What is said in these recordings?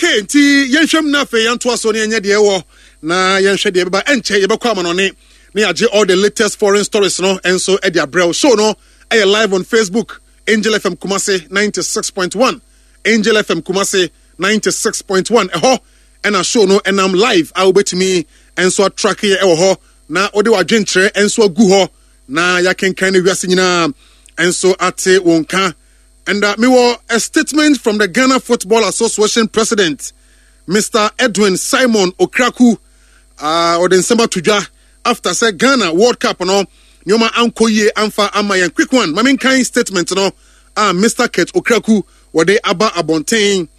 Okay, nti yɛnhwɛ mu na afei yɛntoa so ne yɛnyɛ deɛ ɛwɔ na yɛnhwɛ deɛ ɛbɛba. Ɛnkyɛ yɛbɛkɔ amanɔne na yɛagye all the latest foreign stories no nso de abrɛ wo. Show no ɛyɛ live on Facebook, Angel FM Kumasi 96.1, Angel FM Kumasi 96.1. Ɛhɔ ɛna show no ɛnam live a wobɛtumi nso atrake yɛ ɛwɔ hɔ na wode w'adwenkyerɛ nso agu hɔ na yɛakenkan no wiase nyinaa nso ate wo nka. And mewɔ a statement from the Ghana Football Association President, Mr. Edwin Simon Okraku. Ɔde nsɛm ato dwa after sɛ Ghana World Cup no nneɛma ankɔ yie amfa ama yɛn. Quick one, ma menkan statement no a Mr. Kurt Okraku wɔde aba abɔnten.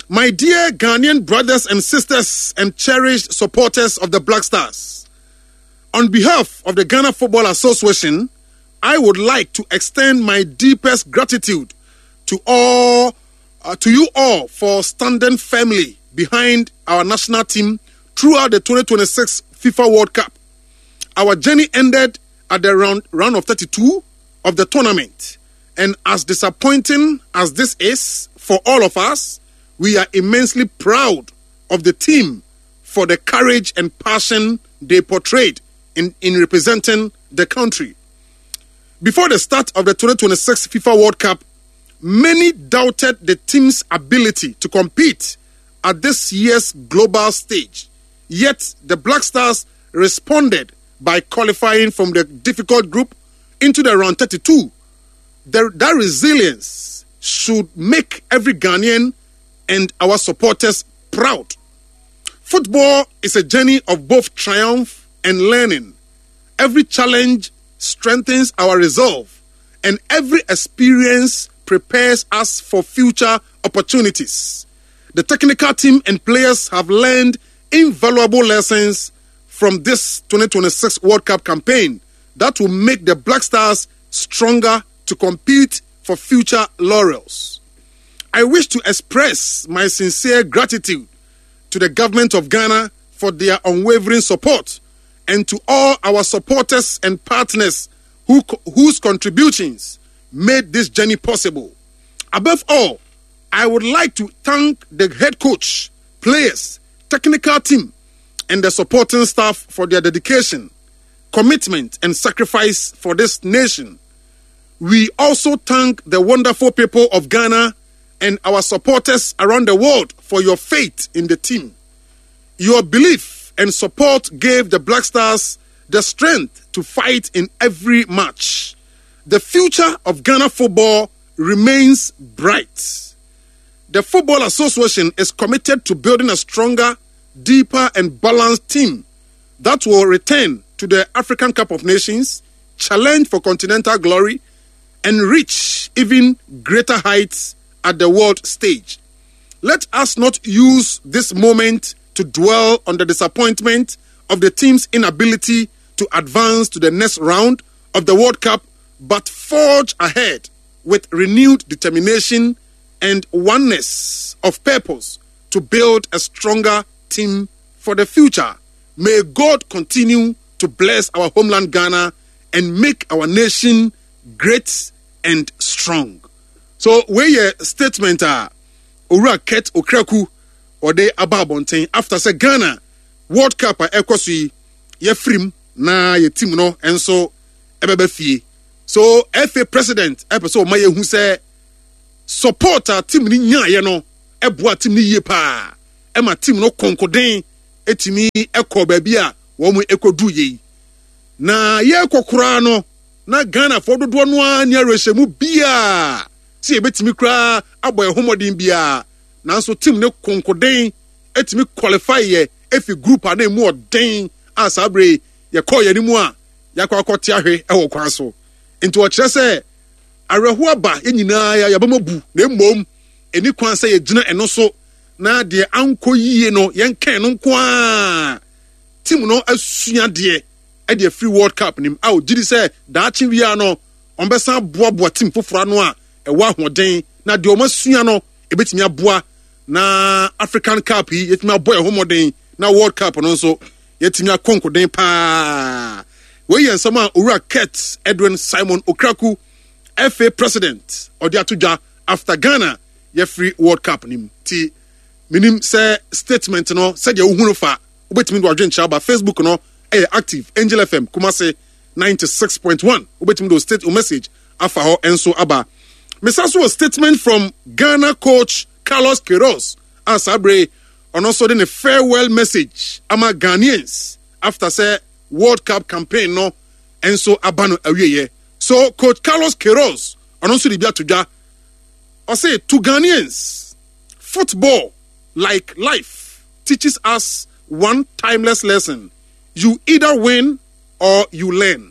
My dear Ghanaian brothers and sisters and cherished supporters of the Black Stars, on behalf of the Ghana Football Association, I would like to extend my deepest gratitude to all to you all for standing firmly behind our national team throughout the 2026 FIFA World Cup. Our journey ended at the round, round of 32 of the tournament. And as disappointing as this is for all of us, we are immensely proud of the team for the courage and passion they portrayed in, in representing the country. Before the start of the 2026 FIFA World Cup, many doubted the team's ability to compete at this year's global stage. Yet the Black Stars responded by qualifying from the difficult group into the round 32. The, that resilience should make every Ghanaian and our supporters proud. Football is a journey of both triumph and learning. Every challenge strengthens our resolve, and every experience prepares us for future opportunities. The technical team and players have learned invaluable lessons from this 2026 World Cup campaign that will make the Black Stars stronger to compete for future laurels. I wish to express my sincere gratitude to the government of Ghana for their unwavering support and to all our supporters and partners who, whose contributions made this journey possible. Above all, I would like to thank the head coach, players, technical team, and the supporting staff for their dedication, commitment, and sacrifice for this nation. We also thank the wonderful people of Ghana and our supporters around the world for your faith in the team. Your belief and support gave the Black Stars the strength to fight in every match. The future of Ghana football remains bright. The Football Association is committed to building a stronger, deeper, and balanced team that will return to the African Cup of Nations, challenge for continental glory, and reach even greater heights at the world stage. Let us not use this moment to dwell on the disappointment of the team's inability to advance to the next round of the World Cup, but forge ahead with renewed determination and oneness of purpose to build a stronger team for the future. May God continue to bless our homeland Ghana and make our nation great and strong. So, wei yɛ statement a Owura Kurt Okraku ɔde aba abɔnten after sɛ Ghana World Cup a ɛkɔ so yi yɛfirim na yɛ team no nso ɛbɛba fie. So FA president ɛpɛ sɛ ɔma yɛhu sɛ support a team no nyaeɛ no ɛboa team no yie paa ɛma team no konkoden ɛtumi ɛkɔ baabi a wɔn ɛkɔduru yei. Na yɛrekɔ koraa no na Ghanafoɔ dodoɔ no ara nni awerɛhyɛmu biara sɛ yɛbɛtumi koraa abɔ yɛn ho mmɔden biara, nanso team no konkoden tumi qualify yɛ efi group a na emu ɔden a saa bere yi yɛkɔɔ yɛn anim a yɛakɔ akɔte ahwe wɔ kwan so. Nti ɔkyerɛ sɛ awerɛhoɔ aba yɛn nyinaa yɛ yɛabam abu na mmom ɛni kwan sɛ yɛgyina ɛno so na deɛ ankɔ yie no yɛnka ɛno nko ara. Team no asua deɛ ɛde afiri World Cup no mu a ɔgye di sɛ daakye biara no wɔbɛsan aboaboa team foforɔ ano a ɛwɔ ahoɔden na deɛ wɔasua no ɛbɛtumi aboa na African Cup yi yɛtumi abɔ yɛn ho mmɔden na World Cup no nso yɛtumi akɔ nkoden paa. Wei yɛ nsɛm a Owura Kurt Edwin Simon Okraku, FA President, ɔde ato dwa after Ghana yɛfiri World Cup no mu. Ti. Menim sɛ statement no sɛdeɛ wohu no fa, wobɛtumi de w'adwenkyerɛ aba. Facebook no ɛyɛ active, Angel FM Kumasi 96.1. Wobɛtumi de wo state wo message afa hɔ nso aba. Mesa so wɔ statement from Ghana coach Carlos Queiroz a saa bere ɔno nso de ne farewell message ama Ghanaians after sɛ World Cup campaign no nso aba no awieɛ. So coach Carlos Queiroz ɔno nso de bi ato dwa. Ɔse to Ghanaians, football like life teaches us one timeless lesson. You either win or you learn.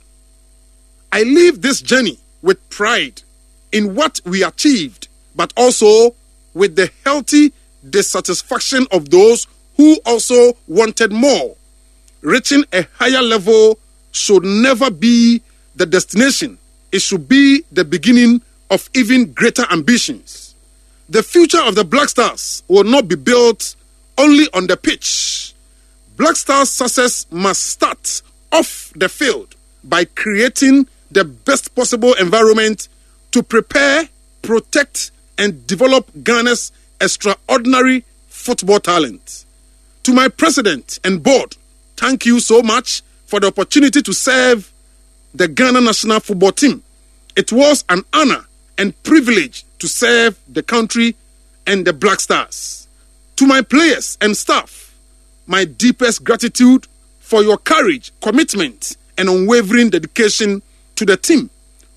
I leave this journey with pride in what we achieved, but also with the healthy dissatisfaction of those who also wanted more. Reaching a higher level should never be the destination, it should be the beginning of even greater ambitions. The future of the Black Stars will not be built only on the pitch. Black Stars' success must start off the field by creating the best possible environment to prepare, protect, and develop Ghana's extraordinary football talent. To my president and board, thank you so much for the opportunity to serve the Ghana national football team. It was an honor and privilege to serve the country and the Black Stars. To my players and staff, my deepest gratitude for your courage, commitment, and unwavering dedication to the team.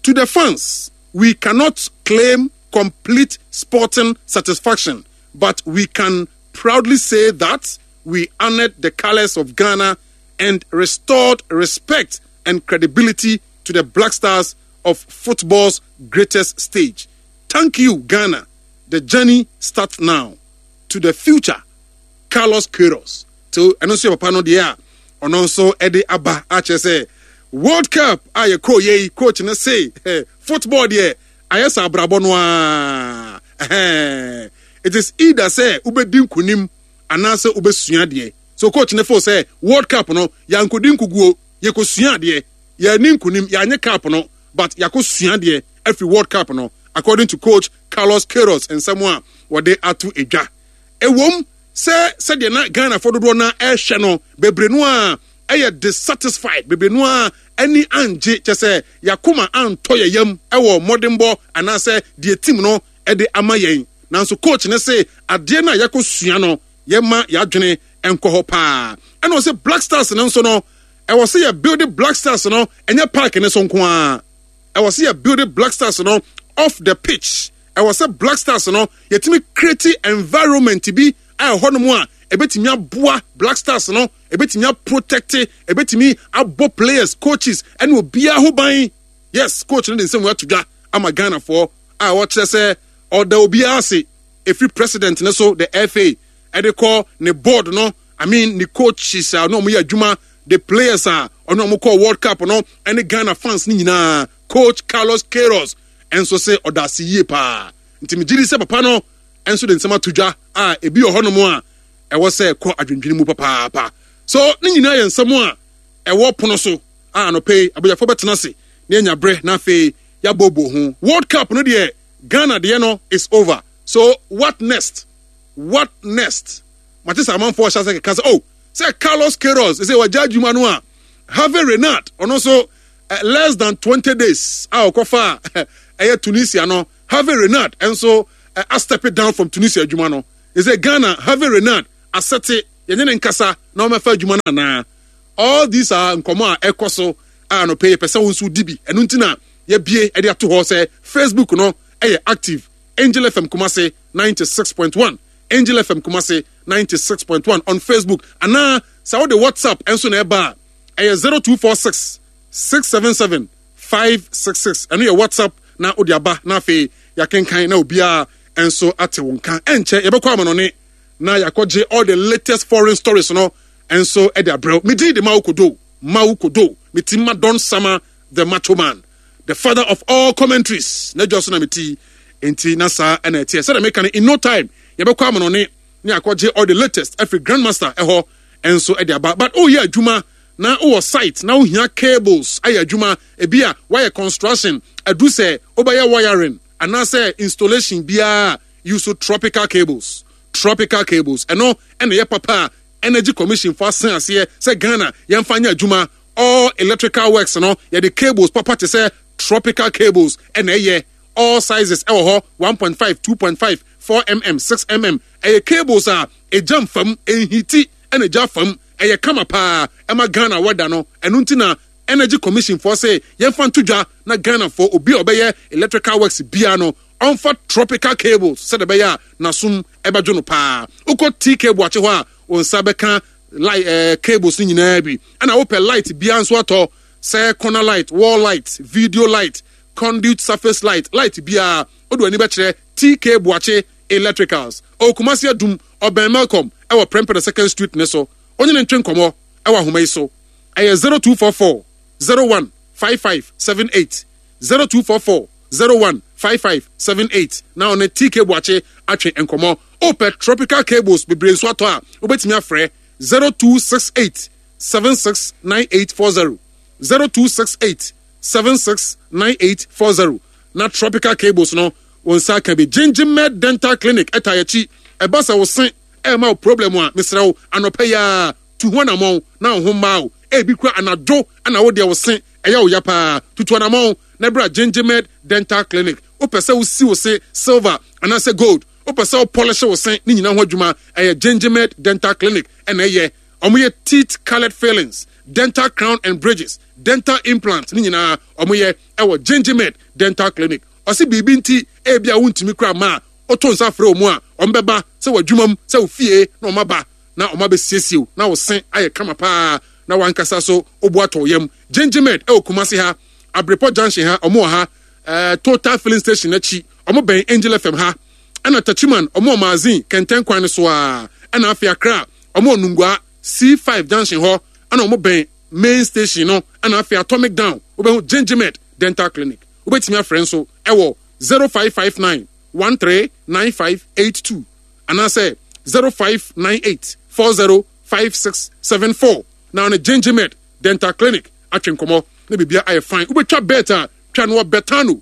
To the fans, we cannot claim complete sporting satisfaction, but we can proudly say that we honored the colors of Ghana and restored respect and credibility to the Black Stars of football's greatest stage. Thank you, Ghana. The journey starts now. To the future, Carlos Queiroz. To ɛno nso yɛ papa no deɛ a ɔno nso de aba akyerɛ sɛ World Cup a yɛkɔɔ yɛ yi coach no se football deɛ ayɛ sɛ abrabɔ no ara. It is either sɛ wobɛdi nkonim anaasɛ wobɛsua adeɛ. So coach no feel sɛ World Cup no yɛankɔdi nkoguo, yɛkɔsua adeɛ. Yɛanni nkonim, yɛanye cup no but yɛakɔsua adeɛ afiri World Cup no according to coach Carlos Queiroz nsɛm a wɔde ato dwa. Ɛwom sɛ sɛdeɛ na Ghanafoɔ dodoɔ no ara ɛrehwɛ no, bebree no ara yɛ dissatisfied, bebree no ara ani angye, kyɛ sɛ yɛakoma antɔ yɛn yam wɔ mmɔdenbɔ anaasɛ deɛ team no de ama yɛn. Nanso coach no se adeɛ no a yɛakɔsua no, yɛmma yɛadwene nkɔ hɔ paa. Ɛna ɔse Black Stars no nso no, ɛwɔ sɛ yɛ build Black Stars no, ɛnyɛ park no so nko ara. Ɛwɔ sɛ yɛ build Black Stars no off the pitch. Ɛwɔ sɛ Black Stars no yɛtumi create environment bi a ɛhɔ nom a ɛbɛtumi aboa Black Stars no, ɛbɛtumi aprotect, ɛbɛtumi abɔ players, coaches ɛne obiara ho ban. Yes, coach no de nsɛm ato dwa ama Ghanafoɔ a ɔkyerɛ sɛ ɔda obiara ase ɛfiri president no so, the FA, ɛde kɔ ne board no, I mean ne coaches a ɔne wɔn yɛ adwuma, the players a ɔne wɔn kɔɔ World Cup no ɛne Ghana fans no nyinaa. Coach Carlos Queiroz nso se ɔda ase yie paa. Nti megye di sɛ papa no nso de nsɛm ato dwa a ebi wɔ hɔnom a ɛwɔ sɛ ɛkɔ adwendwene mu papaapa. So ne nyinaa yɛ nsɛm a ɛwɔ pono so a anɔpa yi abadwafoɔ bɛtena ase na yɛanya berɛ na afei yɛabɔɔbɔ ho. World Cup no deɛ Ghana deɛ no is over. So what next? What next? Mate sɛ amanfoɔ hyɛ ase keka sɛ oh sɛ Carlos Queiroz sɛ wagya adwuma no a Hervé Renard ɔno nso eh, less than 20 days a ɔkɔfa ɛyɛ Tunisia no Hervé Renard nso eh, a step it down from Tunisia adwuma no sɛ Ghana Hervé Renard asɛte yɛne ne nkasa na ɔmɛfa adwuma no anaa. All these are nkɔmɔ a ɛkɔ so a anɔpɛ yɛpɛ sɛ wo nso di bi. Ɛno nti na yɛbie ɛde ato hɔ sɛ Facebook no ɛyɛ active. Angel FM Kumasi 96.1, Angel FM Kumasi 96.1 on Facebook. Anaa sɛ wode WhatsApp nso na ɛba a ɛyɛ 0246 677 566. Ɛno yɛ WhatsApp na wode aba na afei yɛakenkan na obiara nso ate wo nka. Ɛnkyɛ yɛbɛkɔ amanɔne na yɛakɔgye all the latest foreign stories no nso de abrɛ wo. Me din de Mao Kodo, Mao Kodo, me ti ma Don Sama the Macho Man, the father of all commentaries. Na dwa so na me ti, nti na saa ɛna ɛteɛ. Sɛdeɛ meka no, in no time yɛbɛkɔ amanɔne ne akɔgye all the latest afiri Grandmaster ɛhɔ nso de aba. But woyɛ adwuma na wowɔ site na wohia cables ayɛ adwuma, ebi a woayɛ construction, adu sɛ wobɛyɛ wiring anaasɛ installation biara, use tropical cables. Tropical Cables. Ɛno ɛna ɛyɛ papa a Energy Commission fo asen aseɛ sɛ Ghana yɛmfa nyɛ adwuma. All electrical works no, yɛde cables papa te sɛ Tropical Cables ɛna ɛyɛ. All sizes ɛwɔ hɔ, 1.5, 2.5, 4mm, 6mm. Ɛyɛ cables a egya mfam, ɛnhiti ɛna egya fam. Ɛyɛ kama paa ɛma Ghana weather no. Ɛno nti na Energy Commission foɔ se yɛmfa nto dwa na Ghana foɔ obi a ɔbɛyɛ electrical works biara no ɔmfa Tropical Cables sɛdeɛ ɛbɛyɛ a n'asom ɛbɛdwo no paa. Wokɔ TK Boakye hɔ a, wo nsa bɛka light ɛɛ cables no nyinaa bi. Ɛna wopɛ light biara nso atɔ, sɛ corner light, wall light, video light, conduit surface light, light biara, wode w'ani bɛkyerɛ TK Boakye Electricals. Ɔwɔ Kumasi Adum, ɔbɛn Melcom ɛwɔ Prempeh the Second Street ne so. Wonye no ntwe nkɔmmɔ ɛwɔ ahoma yi so. Ɛyɛ 0244 01 5578, 0244 01 5578 na ɔne TK Boakye atwe nkɔmmɔ. Wopɛ tropical cables bebree nso atɔ a, wobɛtumi afrɛ 0268 769840, 0268 769840 na tropical cables no wo nsa aka bi. Gingimed Dental Clinic ɛta yɛkyi. Ɛba sɛ wo se ɛma wo problem a, mesrɛ wo anɔpa yi ara tu ho anamɔn na wo ho mmaa wo. Ebi kura anadwo na wo deɛ wo se ɛyɛ wo ya paa. Tutu anamɔn na bra Gingimed Dental Clinic. Wopɛ sɛ wosi wo se silver anaasɛ gold, wopɛ sɛ wo polish wo se, ne nyinaa ho adwuma ɛyɛ Gingimed Dental Clinic ɛna ɛyɛ. Wɔyɛ teeth colored fillings, dental crown and bridges, dental implant, ne nyinaa wɔyɛ ɛwɔ Gingimed Dental Clinic. Ɔse biribi nti ebi a wontumi kura ma a, woto nsa frɛ wɔn a, wɔbɛba sɛ w'adwuma mu, sɛ wo fie na wɔaba na wɔabɛsiesie wo na wo se ayɛ kama paa na w'ankasa so wo bo atɔ wo yam. Gingimed ɛwɔ Kumasi ha, Abrepɔ Junction ha, wɔn wɔ ha, eh, Total Filling Station akyi, wɔn bɛn Angel FM ha, ɛna Techiman, wɔn wɔ Magazine, Kɛntɛn kwan no so ara, ɛna afei Accra, wɔn wɔ Nungua, C5 Junction hɔ, ɛna wɔn bɛn main station no, ɛna afei Atomic Down, wobɛhu Gingimed Dental Clinic. Wobɛtumi afrɛ nso ɛwɔ 0559 139582 anaasɛ 0598 405674 na ɔne Gingimed Dental Clinic atwe nkɔmmɔ na biribia ayɛ fine. Wobɛtwa bet a, twa no wɔ Betano.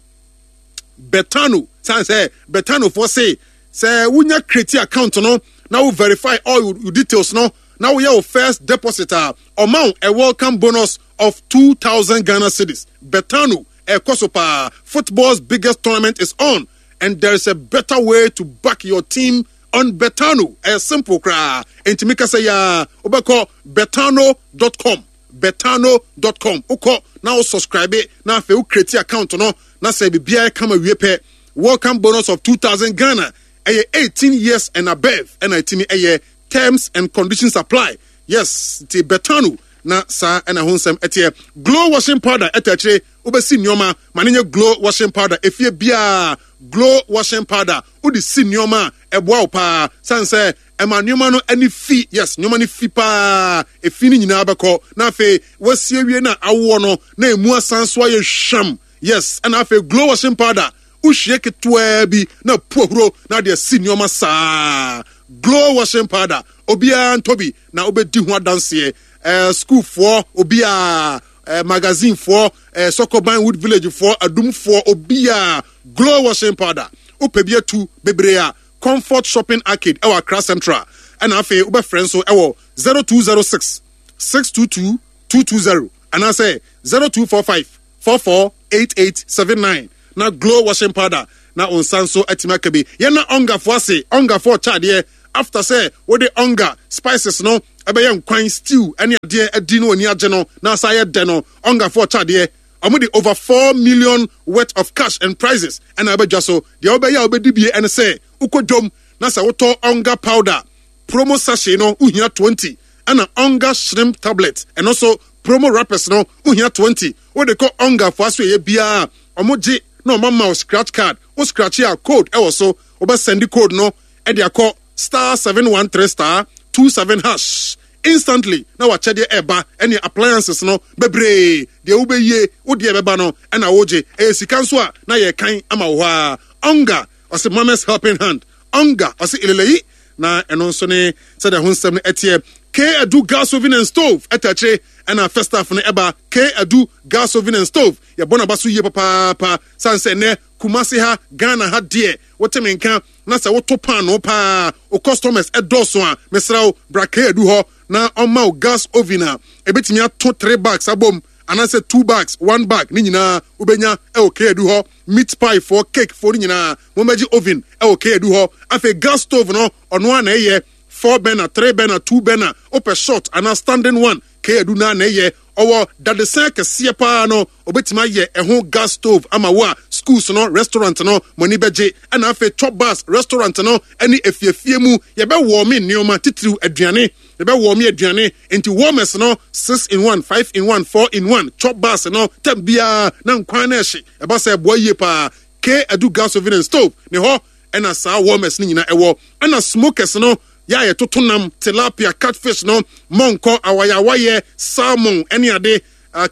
Betano, sane sɛ Betanofoɔ se sɛ wonya create account no na wo verify all your details no na woyɛ wo first deposit a, ɔma wo a welcome bonus of 2000 Ghana cedis. Betano ɛkɔ so paa. Football's biggest tournament is on and there is a better way to back your team on Betano. Ɛyɛ simple koraa. Enti meka sɛ yaa wobɛkɔ betano.com, betano.com, wokɔ na wo subscribe na afei wo create account no na sɛ biribiara kama wie pɛ, welcome bonus of 2000 Ghana. Ɛyɛ 18 years and above ɛna ɛtumi ɛyɛ. Terms and conditions apply. Yes, nti Betano na saa ɛna ho nsɛm ɛteɛ. Glow washing powder ɛta akyire, wobɛsi nneɛma ma ne nyɛ glow washing powder. Efie biara glow washing powder wode si nneɛma a ɛboa wo paa, sane sɛ ɛma nneɛma no ani fi. Yes, nneɛma no fi paa, efi no nyinaa bɛkɔ na afei wasie wie na awoɔ no na emu asan so ayɛ hwam. Yes, ɛna afei glow washing powder wohwie ketewaa bi na pu ahuro na de asi nneɛma saa. Glow washing powder, obiara ntɔ bi na wobɛdi ho adanseɛ. Ɛɛ sukuufoɔ, obiara, ɛɛ magazinefoɔ, ɛɛ Sɔkɔban Wood Villagefoɔ, adumfoɔ, obiara, glow washing powder. Wopɛ bi atu bebree a, Comfort Shopping Arcade ɛwɔ Accra Central. Ɛna afei wobɛfrɛ nso ɛwɔ 0206 622 220 anaasɛ 0245 448879 na glow washing powder na wo nsa nso atumi aka bi. Yɛn na ɔngafoɔ ase, ɔngafoɔ ɔkyɛ adeɛ after sɛ wode ɔnga spices no ɛbɛyɛ nkwan, stew ɛne adeɛ adi na w'ani agye no na asa ayɛ dɛ no, ɔngafoɔ ɔkyɛ adeɛ. Wɔn de over 4 million worth of cash and prizes ɛna ɛbɛdwa so. Deɛ wobɛyɛ a wobɛdi bie ɛne sɛ wokɔ dwom na sɛ wotɔ ɔnga powder promo sachet no wohia 20, ɛna ɔnga shrimp tablet ɛno nso promo wrappers no wohia 20. Wode kɔ ɔnga fo aso ɛyɛ biara a ɔmo gye na ɔmo ama wo scratch card. Wo scratch a, code ɛwɔ so, wobɛ send code no ɛde akɔ *713*27# instantly na wakyɛdeɛ ɛba ɛne appliances no bebree. Deɛ wobɛyie wo deɛ ɛbɛba no ɛna wogye. Ɛyɛ sika nso a na yɛkan ama wo hɔ a. Ɔnga ɔse mama's helping hand. Ɔnga ɔse eleleyi na ɛno nso ne sɛdeɛ ho nsɛm no ɛteɛ. K Adu gas oven and stove ɛta akyire ɛna first half no ɛba. K Adu gas oven and stove yɛbɔ n'aba so yie papaapa sane sɛ nnɛ Kumasi ha, Ghana ha deɛ wote me nka na sɛ woto paanoo paa wo customers ɛdɔɔso a mesrɛ wo bra K Adu hɔ na ɔmma wo gas oven a ɛbɛtumi ato three bags abom anaasɛ two bags, one bag ne nyinaa wobɛnya ɛwɔ K Adu hɔ. Meat pie foɔ, cake foɔ no nyinaa mommɛgye oven ɛwɔ K Adu hɔ. Afei gas stove no ɔno ara na ɛyɛ four burner, three burner, two burner, wopɛ short anaa standing one, K Adu no ara na ɛyɛ. Ɔwɔ dadesɛn akɛseɛ paa no, ɔbɛtumi ayɛ ɛho gas stove ama wo a schools no, restaurant no, mo ani bɛgye. Ɛna afei chop bars, restaurant no ne afiefie mu, yɛbɛ wɔɔme nneɛma, titiriw aduane, yɛbɛ wɔɔme aduane, nti warmers no, six in one, five in one, four in one, chop bars no, tam biara na nkwan no ɛhye, ɛba sɛ ɛboa yie paa. K Adu gas oven and stove, ne hɔ ɛna saa warmers no nyinaa ɛwɔ. Ɛna smokers no, yɛ a yɛtoto nam, tilapia, catfish no, mɔnkɔ, awayawayɛ, salmon ɛne ade.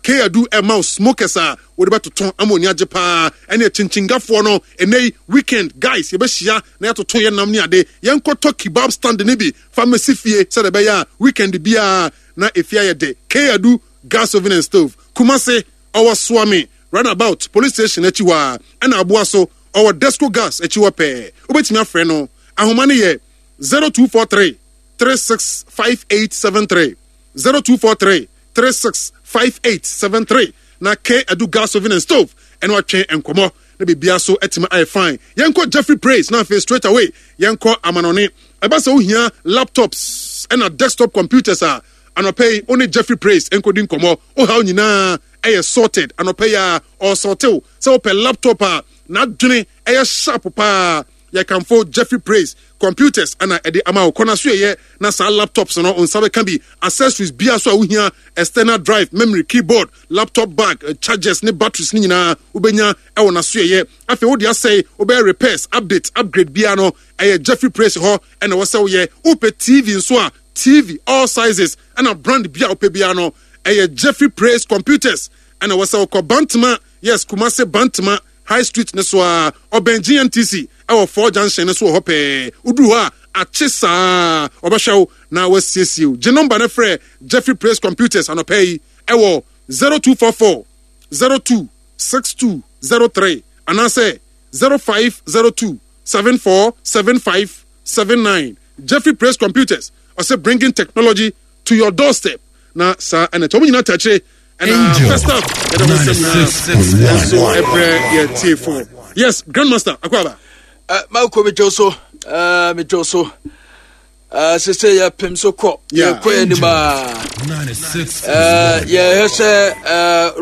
K Adu ɛma wo smokers a wode bɛtoto ama oni agye paa. Ɛne akyinkyingafoɔ no, ɛnɛ yi weekend guys yɛbɛhyia na yɛatoto yɛ nam ne ade. Yɛnkɔtɔ kebab stand no bi fa mmɛsi fie sɛdeɛ ɛbɛyɛ a weekend biara na efie ayɛ dɛ. K Adu gas oven and stove, Kumasi, ɔwɔ Suame roundabout police station akyi hɔ ara, ɛna Aboa so ɔwɔ Desco gas akyi hɔ pɛɛ. Wobɛtumi afrɛ no, ahoma no yɛ 0243 365873, 0243 365873 na K Adu gas oven and stove ɛna watwe nkɔmmɔ na biribiara so atumi ayɛ fine. Yɛnkɔ Jeffrey Praise na afei straight away yɛnkɔ amanɔne. Ɛba sɛ wohia laptops ɛna desktop computers a, anɔpa yi wo ne Jeffrey Praise nkɔdi nkɔmmɔ. Wo haw nyinaa ɛyɛ sorted anɔpa yi a ɔresɔrtew sɛ wopɛ laptop a n'adwene ɛyɛ sharp paa. Yɛkamfo Jeffrey Praise Computers na ɛde ama wo. Kɔ n'asoɛeɛ na saa laptops no wo nsa bɛka bi. Accessories biara so a wohia, external drive, memory, keyboard, laptop bag, chargers ne batteries no nyinaa wobɛnya wɔ n'asoɛeɛ. Afei wode asɛe, wobɛyɛ repairs, update, upgrade biara no, ɛyɛ Jeffrey Praise hɔ na ɛwɔ sɛ woyɛ. Wopɛ TV nso a, TV all sizes ɛna brand bi a wopɛ biara no, ɛyɛ Jeffrey Praise Computers na ɛwɔ sɛ wokɔ. Bantama, yes, Kumasi Bantama High Street no so ara, ɔbɛn GNTC wɔ Four Junction no so wɔ hɔ pɛɛ. Woduru hɔ a, akye saa, wɔbɛhwɛ wo na wɔasiesie wo. Gye nɔmba no frɛ Jeffrey Praise Computers anɔpa yi wɔ 0244 02 6203 anaasɛ 0502 74 75 79. Jeffrey Praise Computers, ɔsɛ bringing technology to your doorstep. Na saa ɛna ɛkyɛ wɔn nyinaa tɛkyere ɛna first half yɛde ho nsɛm nyinaa nso ɛbrɛ yɛ tiefo. Yes, Grandmaster Akwaaba. Mako metwo so, metwo so. Sese yɛpem so kɔ, yɛkɔ anim a. Yɛhwɛ sɛ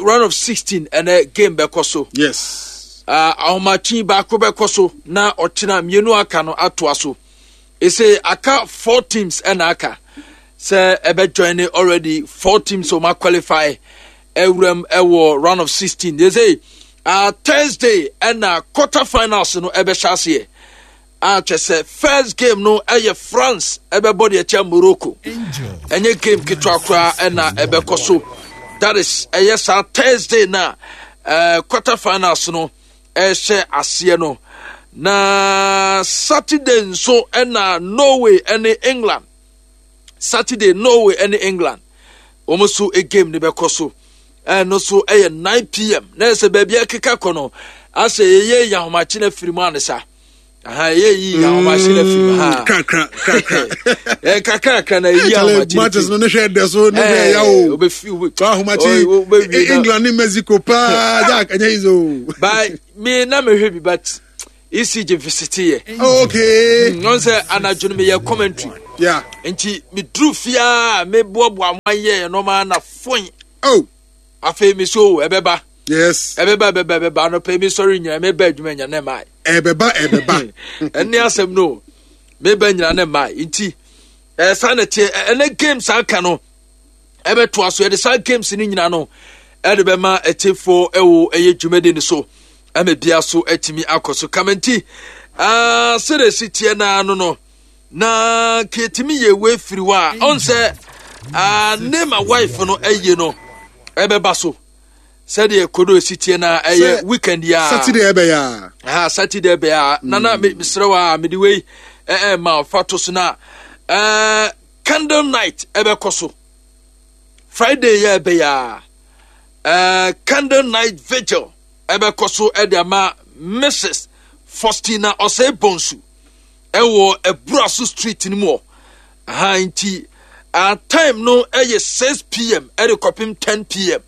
round of 16 ɛnɛ game bɛkɔ so. Yes. Ahomakye baako bɛkɔ so na ɔkyena mmienu aka no atoa so. Ese aka four teams ɛna aka sɛ ɛbɛ join ne already four teams wɔn qualify ɛwuram ɛwɔ round of 16. Ese Thursday ɛna quarter finals no ɛbɛhyɛ aseɛ. A kyɛ sɛ first game no ɛyɛ France ɛbɛbɔ deɛ kyɛ Morocco. Ɛnyɛ game ketewa koraa ɛna ɛbɛkɔ so. That is ɛyɛ saa Thursday na quarter finals no ɛhyɛ aseɛ no. Na Saturday nso ɛna Norway ɛne England. Saturday Norway ɛne England wɔn nso game no bɛkɔ so. Ɛno nso ɛyɛ 9 pm. Na ɛsɛ baabi ɛkeka kɔ no asɛ yɛyɛ yahomakye no afiri mu anesa. Aha ɛyɛ yi ahomakye no afiri mu ha. Kakra kakra. Kakra na ɛyi ahomakye. Matches no ne hwɛ dɛ so ne hwɛ ya o. Obefi obe. Ahomakye England ne Mexico paa Jack ɛnyɛ yi so. By me na mehwɛ bi but ECG visite yɛ. Okay. Ɔn sɛ anadwo no meyɛ commentary. Yeah. Nti meduru fie a meboaboa mo ayɛ nneɛma na foin. Oh. Afei me so ɛbɛba. Yes. Ɛbɛba ɛbɛba ɛbɛba anɔpɛ mi sɔre nyina meba adwuma nyina ne mmaa. Ɛbɛba ɛbɛba. Ɛne asɛm no meba nyina ne mmaa nti ɛsa na teɛ ɛnɛ games aka no ɛbɛtoa so yɛde saa games no nyina no ɛde bɛma ɛtefoɔ ɛwɔ ɛyɛ dwumadi no so ɛma bia so atumi akɔ so kama nti sɛdeɛ ɛsi teɛ naa no no na ketumi yɛ wei firi hɔ a ɔn sɛ ne ma wife no ɛyɛ no ɛbɛba so sɛdeɛ kodo esi teɛ na ɛyɛ weekend yi a Saturday ɛbɛyɛ a ha Saturday ɛbɛyɛ a nana mesrɛ wa mede wei ɛɛ ma fa to so na ɛɛ. Candle night ɛbɛkɔ so Friday yɛ ɛbɛyɛ a eh, candle night vigil ɛbɛkɔ so ɛde ama Mrs. Faustina Osei Bonsu ɛwɔ Aburaso street no mu hɔ. Aha nti uh, time no ɛyɛ 6 pm ɛde kɔpem 10 pm.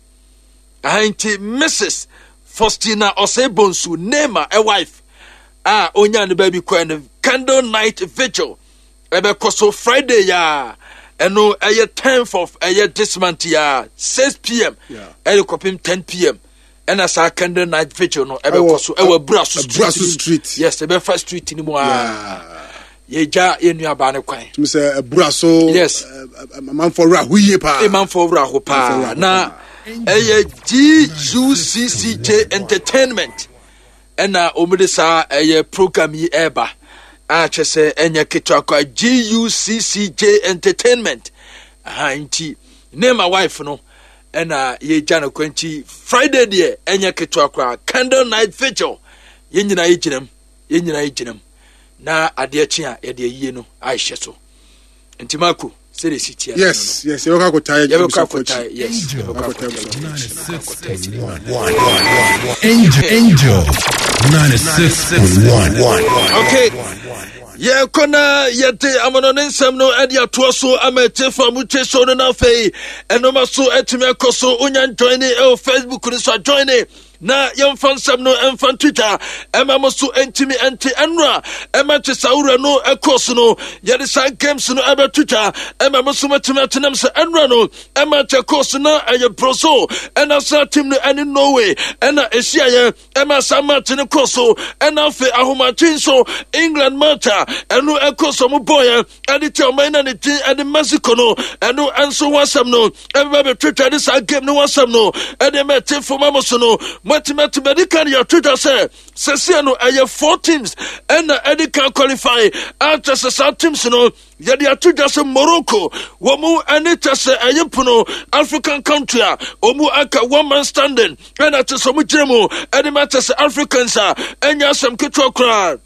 Aha nti Mrs. Faustina Osei Bonsu Nema a wife a onya ne baabi kɔɛ no candle night vigil ɛbɛkɔ so Friday ya ɛno ɛyɛ 10th of ɛyɛ this month ya 6 pm ɛde kɔpem 10 pm ɛna saa candle night vigil no ɛbɛkɔ so ɛwɔ abura so street yes ɛbɛfa street no mu aa yɛgya yɛn nuabaa no kwan. Tumi sɛ abura so. Yes. Amanfoɔ wura ho yie paa. Amanfoɔ wura ho paa na ɛyɛ GUCCJ Entertainment ɛna wɔn de saa ɛyɛ program yi ɛreba a kyɛ sɛ ɛnyɛ ketewa kwa GUCCJ Entertainment aha nti ne ma wife no ɛna yɛgya no kwan nti Friday deɛ ɛnyɛ ketewa koraa candle night vigil yɛn nyinaa yɛgyina mu yɛn nyinaa yɛgyina mu na adeɛ kye a yɛde ayie no ahyɛ so nti mako sɛde si tia yes yes yɛbɛkɔ akɔtae yɛbɛkɔ akɔtae yes yɛbɛkɔ akɔtae Angel Angel 96.1. Okay. Yɛkɔ na yɛde amono ne nsɛm no de atoa so ama atiefo a motie show no no afei ɛnoma so atumi akɔ so wonya njoine ɛwɔ Facebook no so ajoine na yɛmfa nsɛm no ɛmfa nto dwa ɛma mo so ntumi ɛnte ɛnora ɛma te saa wura no ɛkɔ so no yɛde saa games no ɛbɛto dwa ɛma mo so matumi atenam sɛ ɛnora no ɛma kyɛ kɔ so na ɛyɛ Brazil ɛna saa team no ɛne Norway ɛna ɛhyiaeɛ ɛma saa match no kɔ so ɛna afei ahomakye nso England match a ɛno ɛkɔ so mo bɔɔyɛ ɛde kyɛ ɔman na ne din ɛde Mexico no ɛno ɛnso ho asɛm no ɛbɛba bɛtwitwa de saa game no ho asɛm no ɛde ma ɛte fam ama so no moatumi atumi ɛde kan yɛatwitwa sɛ sɛseɛ no ɛyɛ four teams ɛna ɛde kan qualify akyɛ sɛ saa teams no Yɛde ato dwa sɛ Morocco wɔn mu ɛne kyɛ sɛ ɛyɛ pono African country a wɔn mu aka one man standing ɛna kyɛ sɛ wɔn gyina mu ɛde ma kyɛ sɛ Africans a ɛnyɛ asɛm ketewa koraa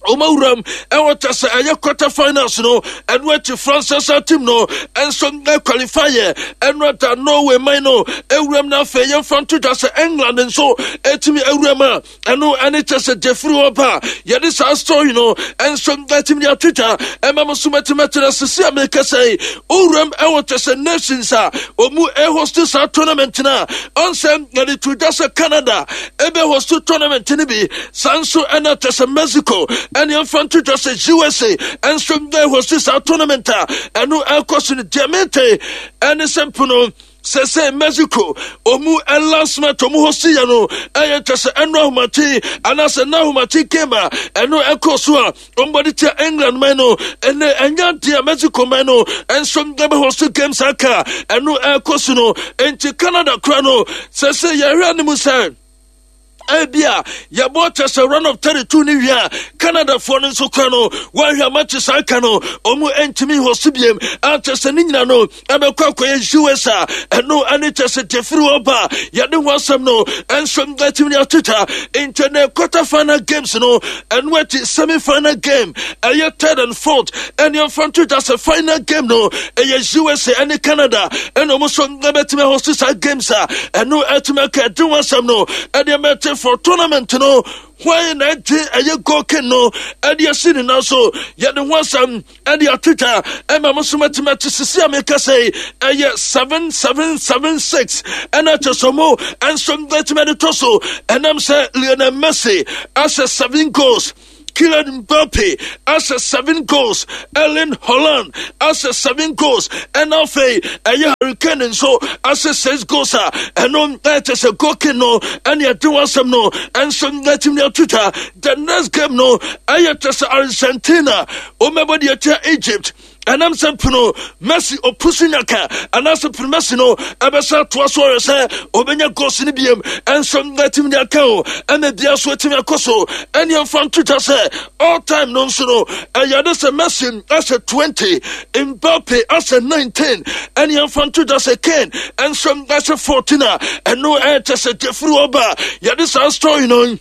wɔn awuram ɛwɔ kyɛ sɛ ɛyɛ quarter finals no ɛno akyi France asa team no ɛnso qualify yɛ ɛno ada Norway man no awuram na afei yɛmfa nto dwa sɛ England nso ɛtumi awuram a ɛno ɛne kyɛ sɛ gyefiri hɔ ba a yɛde saa story no ɛnso atumi de atwitwa ɛma mo so matumi akyerɛ sisi a mekasa yi owuram ɛwɔ kyɛ sɛ nations a ɔmu ɛhost saa tournament no a ɔnsɛ yɛde to dwa sɛ Canada ɛbɛ host tournament no bi saa nso ɛna kyɛ sɛ Mexico ɛne ɛmfa nto dwa sɛ USA ɛnso ɛhost saa tournament a ɛno ɛkɔ so no deɛ mete ɛne sɛ mpono Sɛsɛ Mexico ɔmu last match ɔmu hɔ si yɛ no ɛyɛ kyɛ sɛ ɛno ahomakye anaasɛ na ahomakye game a ɛno ɛkɔ so a ɔmbɔde tia England man no ɛnɛ ɛnyɛ adeɛ a Mexico man no ɛnso ɛbɛ hɔ so games aka ɛno ɛkɔ so no nti Canada kora no sɛsɛ yɛhwɛ anim sɛ Ebia yɛbɔ kyɛ sɛ round of 32 ne wie a Canadafoɔ no nso kora no wɔahwɛ ama saa ka no ɔmo ntumi hɔ so biem akyɛ sɛ ne nyina no ɛbɛkɔ akɔyɛ US a ɛno ɛne kyɛ sɛ gyefiri hɔ ba yɛde ho asɛm no ɛnso atumi de atwitwa nti ne quarter final games no ɛno akyi semi final game ɛyɛ third and fourth ɛne ɛmfa nto dwa sɛ final game no ɛyɛ USA ɛne Canada ɛna ɔmo nso ɛbɛtumi ahost saa games a ɛno ɛtumi aka ɛde ho asɛm no ɛde ɛmɛte for tournament no hwan na ɛgye ɛyɛ goal king no ɛde asi ne nan so yɛde ho asɛm ɛde atwitwa ɛma mo so matumi ate sisi a meka sɛ ɛyɛ 7776 ɛna kyɛ sɛ mo ɛnso bɛtumi de to so ɛnam sɛ Lionel Messi ahyɛ 7 goals Kylian Mbappe ahyɛ 7 goals Erling Haaland ahyɛ 7 goals ɛna afei ɛyɛ Harry Kane nso ahyɛ 6 goals a ɛno ɛkyɛ sɛ goal king no ɛne ɛde ho asɛm no ɛnso ɛtumi atwitwa the next game no ɛyɛ kyɛ sɛ Argentina wɔbɛbɔ deɛ ɛkyɛ Egypt ɛnam sɛ pono Messi opusu nyaka anaasɛ pono Messi no ɛbɛsɛ atoa so ɔyɛ sɛ ɔbɛnya goals no biem ɛnso atumi de aka o ɛna bia so atumi akɔ so ɛne ɛmfa nto dwa sɛ all time no nso no ɛyɛ de sɛ Messi ahyɛ 20 Mbappe ahyɛ 19 ɛne ɛmfa nto dwa sɛ Kane ɛnso ahyɛ 14 a ɛno ɛkyɛ sɛ gyefiri ɔba yɛde saa story no.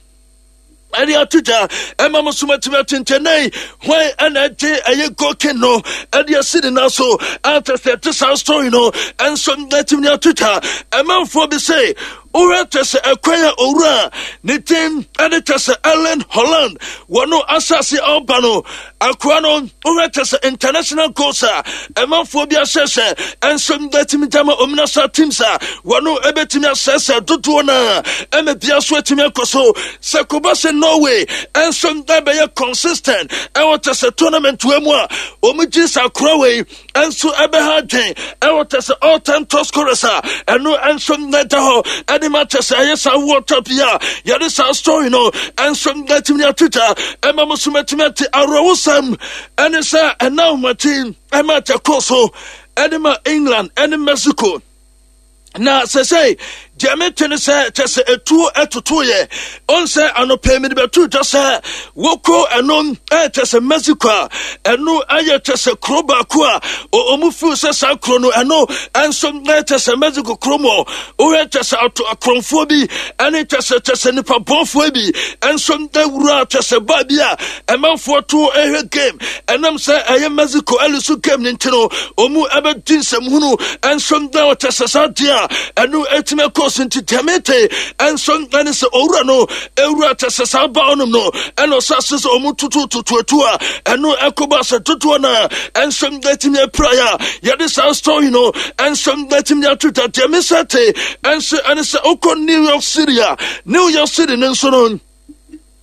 Ɛde ato dwa ɛma mo so matumi atentɛnɛn hwan ɛna ɛgye ɛyɛ gokin no ɛde asi ne nan so ankyɛ sɛ ɛte saa story no ɛnso atumi ato dwa. Ɛmanfoɔ bi sɛ wohwɛ kyɛ sɛ ɛkwan a owura ne din ɛde kyɛ sɛ Ellen Holland wɔno asase a ɔba no akoa no, wohwɛ kyɛ sɛ international goals a ɛmanfoɔ bi ahyɛ sɛ ɛnso atumi gyama ominasa teams a wɔno ɛbɛtumi asɛsɛ dodoɔ no a ɛma bia so atumi akɔ so sɛ kɔba sɛ Norway ɛnso ɛbɛyɛ consistent ɛwɔ kyɛ sɛ tournament wɔ mu a wɔn gye sɛ akora wei ɛnso ɛbɛha adwen ɛwɔ kyɛ sɛ all time top scorers a ɛno ɛnso ɛda hɔ ɛde ma kyɛ sɛ ɛyɛ saa World Cup yi a yɛde saa story no ɛnso ɛtumi atwitwa ɛma mo so mɛtumi ate awerɛhosɛm ɛne sɛ ɛna ahomakye ɛma kyɛ kɔ so ɛde ma England ɛne Mexico. Na sɛsɛi deɛ mete ne sɛ kyɛ sɛ ɛtuo ɛtotoyɛ ɔn sɛ anɔpɛ mede bɛto dwa sɛ wokɔ ɛno ɛkyɛ sɛ Mexico a ɛno ɛyɛ kyɛ sɛ kuro baako a ɔmu fiw sɛ saa kuro no ɛno ɛnso ɛkyɛ sɛ Mexico kuro mu wohwɛ kyɛ sɛ ato akorɔmfoɔ bi ɛne kyɛ sɛ kyɛ sɛ nipa bɔnfoɔ bi ɛnso ɛwura kyɛ sɛ baa bi a ɛmanfoɔ to ɛhwɛ game ɛnam sɛ ɛyɛ Mexico ɛlusu game no nti no ɔmu ɛbɛdi nsɛmhunu ɛnso na ɔkyɛ sɛ saa deɛ a ɛno ɛtumi ɛkɔ so nti dɛmete ɛnso ɛne sɛ owura no ɛwura kyɛ sɛ saa ba ɔnom no ɛna ɔsɛ ase sɛ ɔmu tutu tutuatu a ɛno ɛkɔba sɛ dodoɔ no a ɛnso ɛtumi apiraeɛ a yɛde saa story no ɛnso ɛtumi ato dwa. Deɛ mesɛ te ɛnso ɛne sɛ wokɔ New York City a, New York City no nso no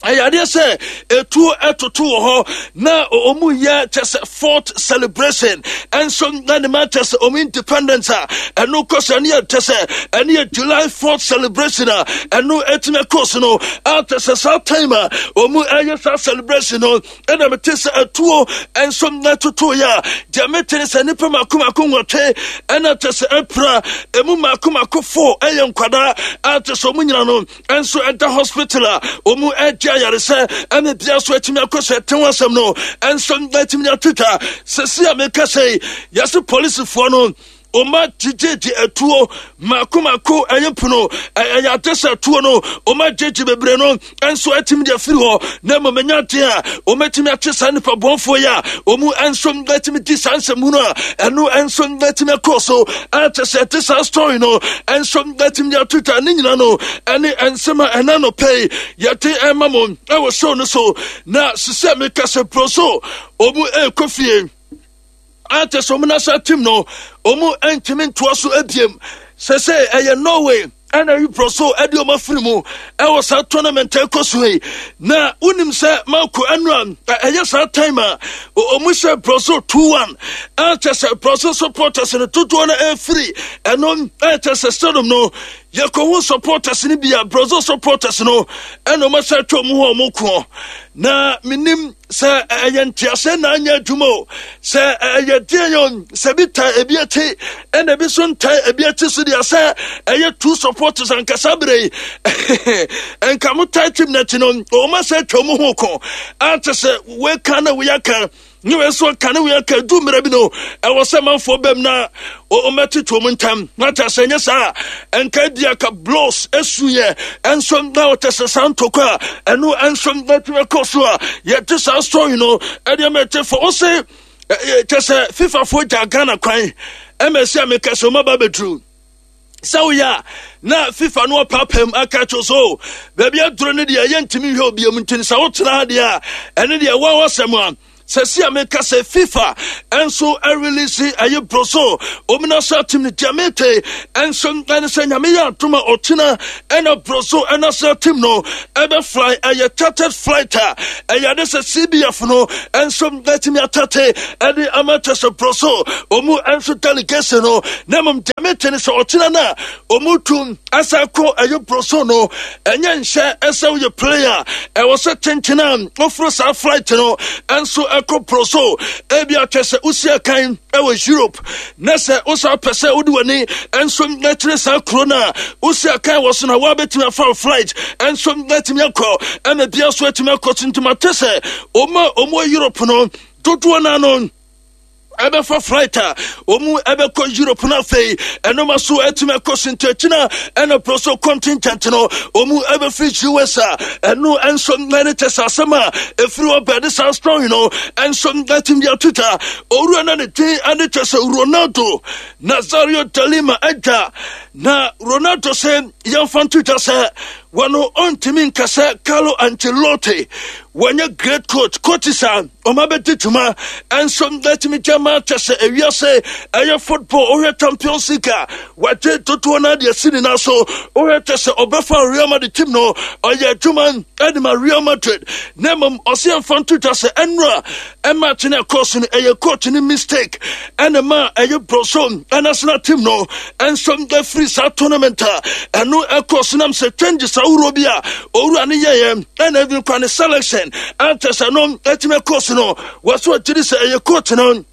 ɛyɛ adeɛ sɛ etuo ɛtoto wɔ hɔ na ɔmu yɛ kyɛ sɛ fourth celebration ɛnso na ne ma kyɛ sɛ ɔmu independence a ɛno kɔ sɛ ɛne yɛ kyɛ sɛ ɛne yɛ July 4th celebration a ɛno ɛtumi ɛkɔ so no a kyɛ sɛ saa time a ɔmu ɛyɛ saa celebration no ɛna mete sɛ atuo ɛnso na ɛtoto yɛ a deɛ mete ne sɛ nnipa mako mako 8 ɛna kyɛ sɛ ɛpira emu mako mako 4 ɛyɛ nkwadaa a kyɛ sɛ ɔmu nyina no nso ɛda hospital a wɔn ɛgye ayaresɛ ɛna bia so atumi akɔ sɛ ɛte ho asɛm no ɛnso atumi atwitwa. Sɛsi a meka sɛ yɛse polisifoɔ no ɔma gyegyegye atuo mako mako ɛyɛ pono ɛyɛ ade sɛ atuo no ɔma gyegye bebree no nso atumi de afiri hɔ na mmom ɛnya adeɛ a ɔmatumi akye saa nnipa bɔnfoɔ yi a ɔmu nso atumi di saa nsɛmhunu a ɛno nso atumi akɔ so akyɛ sɛ ɛte saa story no nso atumi de ato twa ne nyina no ɛne nsɛm a ɛna no pɛi yɛte ɛma mo ɛwɔ show no so. Na sisɛ meka sɛ pro so ɔmu ɛkɔ fie akyɛ sɛ ɔmu nasa team no ɔmu ntumi ntoa so abiem sɛ sɛ ɛyɛ Norway ɛna yi so ɛde ɔmo afiri mu ɛwɔ saa tournament ɛkɔ so yi. Na wonim sɛ Marco ɛno a ɛyɛ saa time a ɔmo hyɛ Brazil 2-1 ɛkyɛ sɛ Brazil supporters no dodoɔ no ɛfiri ɛno ɛkyɛ sɛ stadium no yɛkɔhu supporters no bi a Brazil supporters no ɛna ɔmo ahyɛ atwa ɔmo ho ɔmo koɔ. Na menim sɛ ɛyɛ nteaseɛ na anyɛ adwuma o, sɛ ɛyɛ deɛ yɛ sɛ bi ta ebi akyi ɛna ebi so nta ebi akyi so deɛ sɛ ɛyɛ two supporters ankasa bere yi nka mo ta team n'akyi no wɔn asɛ atwa wɔn ho ko ante sɛ wɔka na wɔyɛ ne wei nso ka ne wei aka du mmerɛ bi no ɛwɔ sɛ manfoɔ bɛm na wɔmɛtete wɔn ntam na kyɛ sɛ nyɛ saa ɛnka bi aka blows esu yɛ ɛnso na wɔkyɛ sɛ saa ntɔkwa a ɛno ɛnso ɛtumi kɔ so a yɛte saa story no ɛde ɛmɛ te fɔ ɔsɛ kyɛ sɛ FIFA foɔ gya Ghana kwan ɛmɛ sɛ meka sɛ ɔma ba bɛduru sɛ woyɛ a na FIFA no ɔpaapam aka kyerɛ so baabi aduro no deɛ yɛntumi nhwɛ obiam nti sɛ wotena ha deɛ a ɛne deɛ wɔwɔ asɛm a sɛsi a meka sɛ FIFA ɛnso ɛrelease ɛyɛ broso omina sɛ team no deɛ mete ɛnso ɛne sɛ Nyame yɛ adom a ɔkyena ɛna broso ɛna sɛ team no ɛbɛfly ɛyɛ chartered flight a ɛyɛ ade sɛ CBF no ɛnso ɛtumi atate ɛde ama kyɛ sɛ broso ɔmu ɛnso delegation no na mmom deɛ mete ne sɛ ɔkyena no a ɔmu tu ɛsɛ kɔ ɛyɛ broso no ɛnyɛ nhyɛ ɛsɛ woyɛ player ɛwɔ sɛ kyenkyene a woforo saa flight no ɛnso ɛkɔ broso ebi akyɛ sɛ wosi akan ɛwɔ Europe na sɛ wosa pɛ sɛ wode w'ani ɛnso ɛkyerɛ saa kuro no a wosi akan wɔ so na woabɛtumi afa flight ɛnso atumi akɔ ɛna bia so atumi akɔ so. Nti mate sɛ ɔma ɔmo Europe no dodoɔ no ano. Ɛbɛfa flight a wɔn ɛbɛkɔ Europe no afei ɛnoma so ɛtumi ɛkɔ so nti akyina ɛna pro so contingent no wɔn ɛbɛfiri US a ɛno ɛnso ɛne kyɛ sɛ asɛm a ɛfiri hɔ bɛde saa strong no ɛnso ɛtumi de ato dwa. Owura na ne din ɛne kyɛ sɛ Ronaldo Nazario de Lima ɛdwa na Ronaldo sɛ yɛmfa nto dwa sɛ wɔn ɔntumi nka sɛ Carlo Ancelotti wɔnyɛ great coach coaches a ɔma bɛdi dwuma ɛnso ɛtumi gya ma kyɛ sɛ ewiase ɛyɛ football wohwɛ Champions League a wagye dodoɔ no adeɛ si ne nan so. Wohwɛ kyɛ sɛ ɔbɛfa Real Madrid team no, ɔyɛ adwuma ɛde ma Real Madrid, na mmom ɔsɛ yɛmfa nto dwa sɛ ɛnora ɛma kye no ɛkɔɔ so no ɛyɛ coach no mistake ɛna ma ɛyɛ Brazil national team no ɛnso ɛfiri saa tournament a ɛno ɛkɔɔ so nam sɛ changes ahoroɔ bi a owura no yɛyɛ ɛna even kwa ne selection ankyɛ sɛ no ɛtumi ɛkɔɔ so no wɔso agyiri sɛ ɛyɛ coach no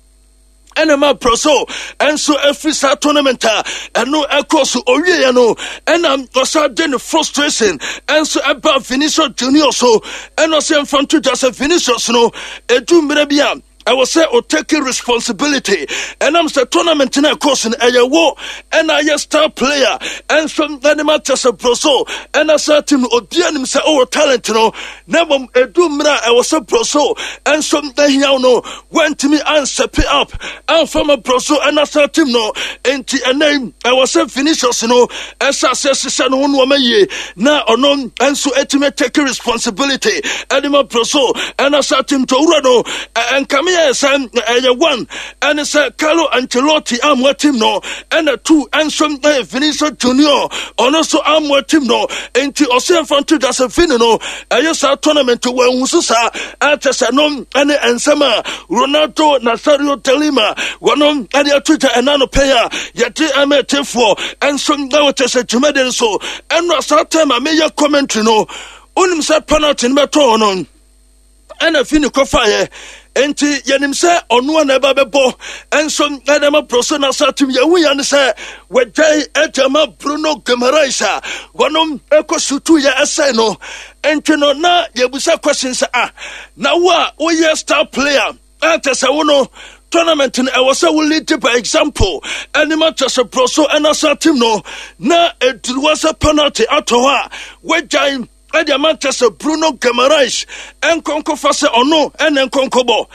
ɛna ma Brazil ɛnso ɛfiri saa tournament a ɛno ɛkɔɔ so. Owieɛ no ɛna ɔsa de ne frustration ɛnso ɛba Vinicius Junior so, ɛna ɔsɛ mfa nto dwa sɛ Vinicius no ɛdu mmerɛ bi a ɛwɔ sɛ o take responsibility, ɛnam sɛ tournament no ɛkɔɔ so no ɛyɛ wo ɛna ayɛ star player ɛnso ɛne ma kyɛ sɛ Brazil ɛna saa team no obiara nim sɛ ɔwɔ talent no, na mmom ɛdu mmerɛ a ɛwɔ sɛ Brazil ɛnso ɛhia wo no wantumi ansɛpe up amfa ma Brazil ɛna saa team no. Enti ɛnɛ ɛwɔ sɛ Vinicius no ɛhyɛ aseɛ hyehyɛ ne ho nneɛma yie na ɔno nso ɛtumi take responsibility ɛde ma Brazil ɛna saa team to owura no. Ɛnkame yɛ sɛ ɛyɛ one ɛne sɛ Carlo Ancelotti amoa team no, ɛna two ɛnso ɛyɛ Vinicius Junior ɔno nso amoa team no. Enti ɔsɛ mfa nto dwa sɛ Vini no ɛyɛ saa tournament wɔahu so saa ɛkyɛ sɛ no ɛne nsɛm a Ronaldo Nazario de Lima wɔno ɛde ato dwa ɛna no pɛn a yɛde ɛma ɛtefoɔ ɛnso na wɔkyɛ sɛ dwumadi no so ɛno saa time a meyɛ commentary no, wonim sɛ penalty no bɛtɔɔ no ɛna fi ne kɔfaeɛ, nti yɛnim sɛ ɔno a na ɛba bɛbɔ ɛnso ɛna ma Brazil na sa team yɛhu yɛ ne sɛ wɔgyae ɛde ma Bruno Guimaraes a wɔnom ɛkɔ sutu yɛ ɛsɛe no. Nti no na yɛbusa question sɛ, ah, na wo a woyɛ star player ɛnkyɛ sɛ wo no tournament no ɛwɔ sɛ wo lead by example ɛne ma kyɛ sɛ Brazil ɛna sa team no na ɛduru wɔ sɛ penalty atɔ hɔ a wɔagyae ɛde ama kyɛ sɛ Bruno Guimaraes ɛnkɔnkɔfa sɛ ɔno ɛne nkɔnkɔbɔ.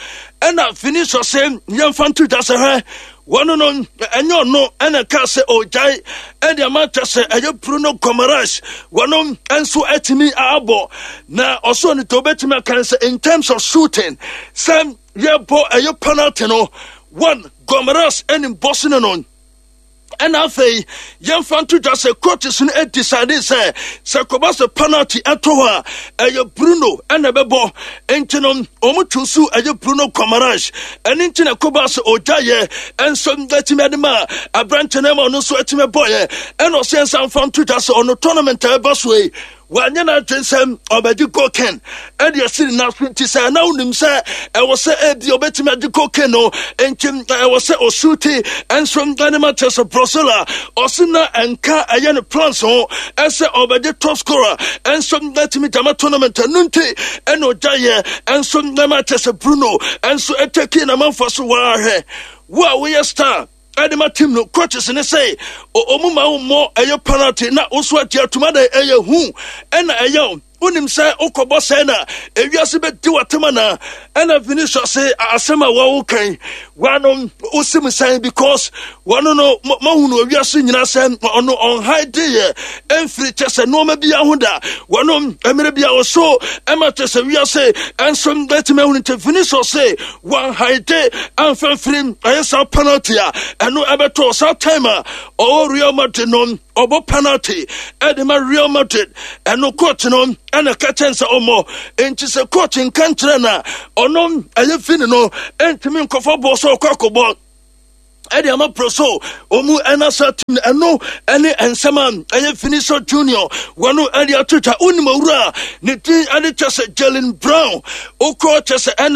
Ɛna Vinicius sɛ yɛmfa nto dwa sɛ hwɛ wɔno no ɛnyɛ ɔno ɛna ka sɛ ɔgyae ɛde ama kyɛ sɛ ɛyɛ Bruno Guimaraes wɔno nso atumi abɔ na ɔsɔ no to obɛtumi aka sɛ in terms of shooting sɛ yɛbɔ ɛyɛ penalty no one Guimaraes ɛnim bɔse no no. Ɛna afei yɛmfa nto dwa sɛ coaches no decide sɛ kɔba sɛ penalty ɛtɔ hɔ a ɛyɛ Bruno ɛna ɛbɛbɔ, nti no wɔn choose ɛyɛ Bruno Guimaraes. Ɛne nti na kɔba sɛ ɔgya yɛ ɛnso ɛtumi ɛde ma aberante no ma ɔno nso ɛtumi ɛbɔyɛ. Ɛna ɔsɛ nsa mfa nto dwa sɛ ɔno tournament a ɛba so yi wanyɛ n'adwene sɛ ɔbɛgye cocaine ɛde asi ne nan so, nti sɛ na wonim sɛ ɛwɔ sɛ ebi ɔbɛtumi agye cocaine no nti ɛwɔ sɛ ɔsuti ɛnso ɛne ma kyerɛ sɛ Brazil a ɔse na ɛnka ɛyɛ ne plans ho ɛsɛ ɔbɛgye top scorer ɛnso ɛtumi gyama tournament ɛno nti ɛna ɔgyaeɛ ɛnso ɛma kyerɛ sɛ Bruno ɛnso ɛtɛki na manfa so wɔahwɛ wo a woyɛ star ɛde ma team no coaches ne sɛ ɔmu ma wo mmɔ ɛyɛ penalty na wo so agye atuma dɛ ɛyɛ hu ɛna ɛyɛ wonim sɛ wokɔbɔ sɛn na ewiase bɛdi w'atam anaa. Ɛna Vinicius se asɛm a wɔwo kan wɔano wosim sɛn because wɔno no mahunu ewiase nyinaa sɛ ɔno ɔnhae deɛ ɛmfiri kyɛ sɛ nneɛma bi ho da wɔno mmerɛ bi a ɔso ɛma kyɛ sɛ wiase ɛnso bɛtumi ahunu. Nti Vinicius se wɔnhae amfa mfiri ɛyɛ saa penalty a ɛno ɛbɛtɔ saa time a ɔwɔ Real Madrid no ɔbɔ penalty ɛde ma Real Madrid ɛno coach no ɛna ka kyɛn sɛ ɔmmɔ, nti sɛ coach nka nkyerɛ na ɔno ɛyɛ Vini no ɛntumi nkɔfa bɔɔ sɛ ɔkɔ akɔbɔ ɛde ama Brazil ɔmu ɛna sa team no. Ɛno ɛne nsɛm a ɛyɛ Vinicius Junior wɔno ɛde ato twa. Wonim owura a ne din ɛde kyɛ sɛ Jalen Brown wokɔ kyɛ sɛ ɛna